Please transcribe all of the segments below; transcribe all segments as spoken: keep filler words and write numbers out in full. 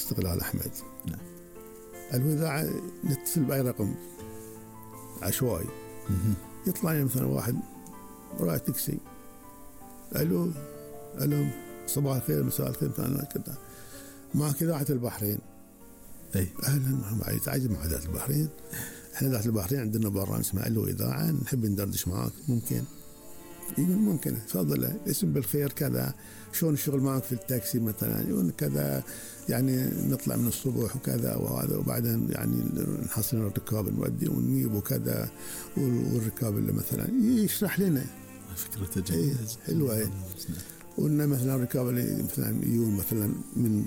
استقلال أحمد. نعم. الإذاعة نتصل بأي رقم عشوائي يطلع لي مثلا واحد وراء تاكسي، ألو ألو صباح الخير مساء الخير مثلا كذا، معك إذاعة البحرين. أي أهلا معي، تعجب مع إذاعة البحرين. إحنا إذاعة البحرين عندنا برنامج اسمه ألو إذاعة، نحب ندردش معاك ممكن؟ يقول ممكن، تفضل اسم بالخير كذا، شلون الشغل معك في التاكسي مثلا، يقول كذا يعني نطلع من الصبح وكذا وهذا، وبعدين يعني نحصل الركاب نودي ونجيب وكذا، والركاب اللي مثلا يشرح لنا فكرة جيدة حلوة. وإن مثلا الركاب اللي مثلا يجون مثلا من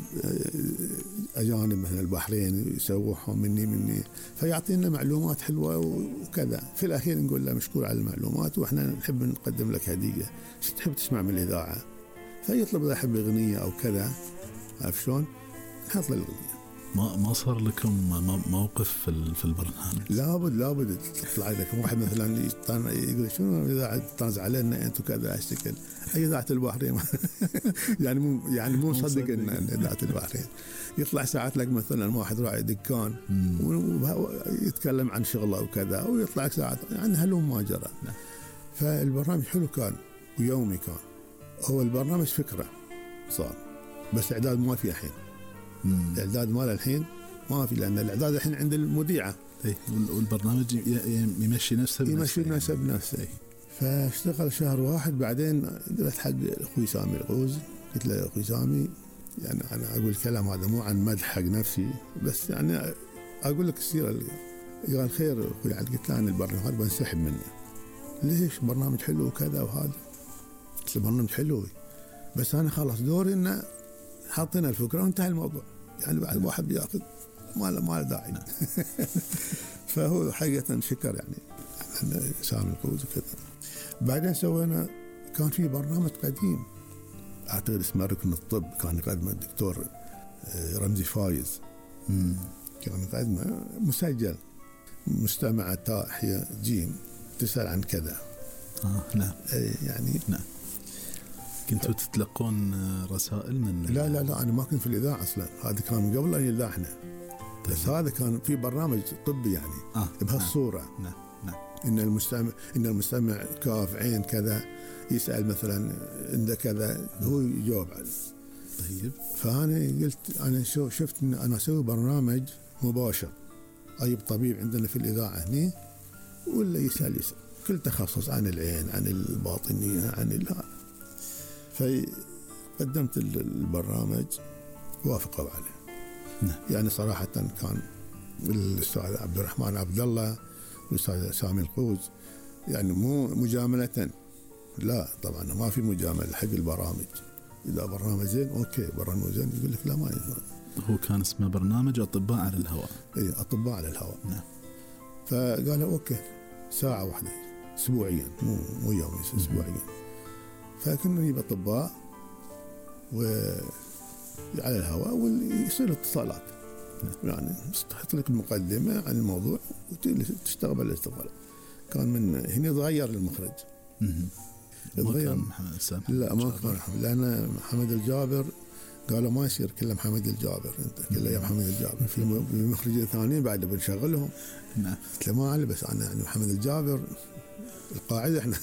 أجانب مثلا البحرين يسوحهم مني مني فيعطينا معلومات حلوة وكذا. في الأخير نقول له مشكور على المعلومات، وإحنا نحب نقدم لك هدية، شو تحب تسمع من الإذاعة؟ فيطلب إذا يحب أغنية أو كذا، عارف شلون؟ نحط له الأغنية. ما ما صار لكم موقف في في البرنامج؟ لابد لابد تطلع لك واحد مثلا يقول شنو إذاعة طاز علينا أنت وكذا أشتكل أي إذاعة البحرين يعني مو يعني مو مصدق إن إذاعة البحرين. يطلع ساعات لك مثلا واحد راعي دكان ويتكلم عن شغله وكذا، ويطلع ساعات يعني هلوم ما جرى. فالبرنامج حلو كان ويومي كان. هو البرنامج فكرة صار، بس إعداد ما في الحين. الإعداد مال الحين ما في، لأن الإعداد الحين عند المذيعة. إيه، والبرنامج يمشي نفسه يمشي نفسه بنفسه. فاشتغل شهر واحد، بعدين قلت حق أخوي سامي الغوز، قلت له أخوي سامي يعني أنا أقول الكلام هذا مو عن مدح حق نفسي، بس يعني أقول لك السيرة. قال خير أخوي، قلت له أنا البرنامج هذا بنسحب منه. ليش؟ برنامج حلو وكذا وهذا. قلت له برنامج حلو بس أنا خلاص دوري إنه حاطين الفكرة وانتهى الموضوع، يعني بعد واحد بياخذ ما له ما له داعي. فهو حقيقة شكر يعني سامي القوز وكذا. بعدين سوينا كان في برنامج قديم أعتقد اسمه ركن الطب، كان يقدمه الدكتور رمزي فايز. مم. كان يقدمه مسجل، مستمع تاء حيا جيم تسأل عن كذا. آه نعم. يعني نعم. كنتوا تتلقون رسائل من؟ لا لا لا أنا ما كنت في الإذاعة أصلا، هذا كان من قبل أن يلاحنا. طيب. بس هذا كان في برنامج طبي يعني آه. بهالصورة. نعم نعم. إن المستمع إن المستمع كاف عين كذا يسأل مثلا عنده كذا هو يجاوب عليه. طيب. فأنا قلت أنا شو شفت إن أنا أسوي برنامج مباشر، أجيب طبيب عندنا في الإذاعة هني ولا يسأل يسأل كل تخصص عن العين عن الباطنية عن الهذا. فقدمت البرنامج وافقوا عليه. نعم. يعني صراحة كان الأستاذ عبد الرحمن عبد الله والأستاذ سامي القوز يعني مو مجاملة، لا طبعا ما في مجاملة حق البرامج. إذا برنامج زين أوكي، برنامج زين يقول لك لا ما يزين. هو كان اسمه برنامج أطباء على الهواء. إيه أطباء على الهواء. نعم. فقالوا أوكي ساعة واحدة أسبوعيا، مو مو يومي أسبوعيا. فكنا نجيب أطباء وعلى الهواء ويصير اتصالات. نعم. يعني تحط لك مقدمة عن الموضوع وتشتغل بالاستقبال. كان من هنا تغير المخرج. تغير محمد السامي. لا ما كان محمد، لأن محمد الجابر قالوا ما يصير كله محمد الجابر، انت كله يا محمد الجابر. في مخرجين ثانيين بعد بنشغلهم. نعم. قلت له ما علي، بس أنا يعني محمد الجابر القاعدة احنا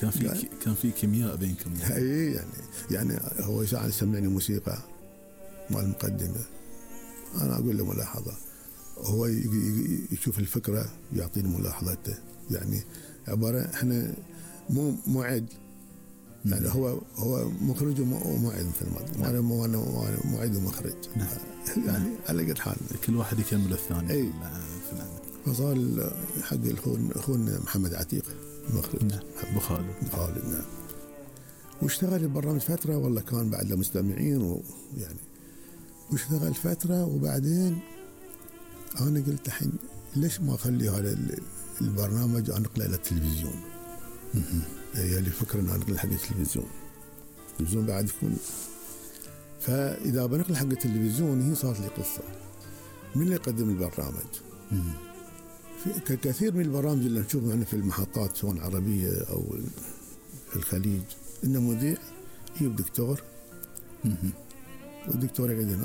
كان في كان في كيمياء بينكم يعني. اي يعني يعني هو ساعة يسمعني موسيقى مع المقدمة، أنا أقول له ملاحظة، هو يشوف الفكرة يعطيني ملاحظته. يعني عبارة احنا مو معد يعني، هو هو مخرج ومعد مثل ما أنا مو أنا معد ومخرج. نعم. يعني على قد حال كل واحد يكمل الثاني. أي. فصار حق أخونا محمد عتيق المخرج. نعم. أبو خالد. خالد. نعم. واشتغل البرنامج فترة والله كان بعد المستمعين ويعني واشتغل فترة، وبعدين أنا قلت الحين ليش ما أخلي هذا البرنامج أنقله إلى التلفزيون. هي اللي فكرة أن أنقله حق التلفزيون. التلفزيون بعد يكون، فإذا بنقل حق التلفزيون هي صارت لي قصة. من اللي يقدم البرنامج؟ في كثير من البرامج اللي نشوفها هنا في المحطات سواء عربية أو في الخليج، إن مذيع يجيب دكتور والدكتور يقعد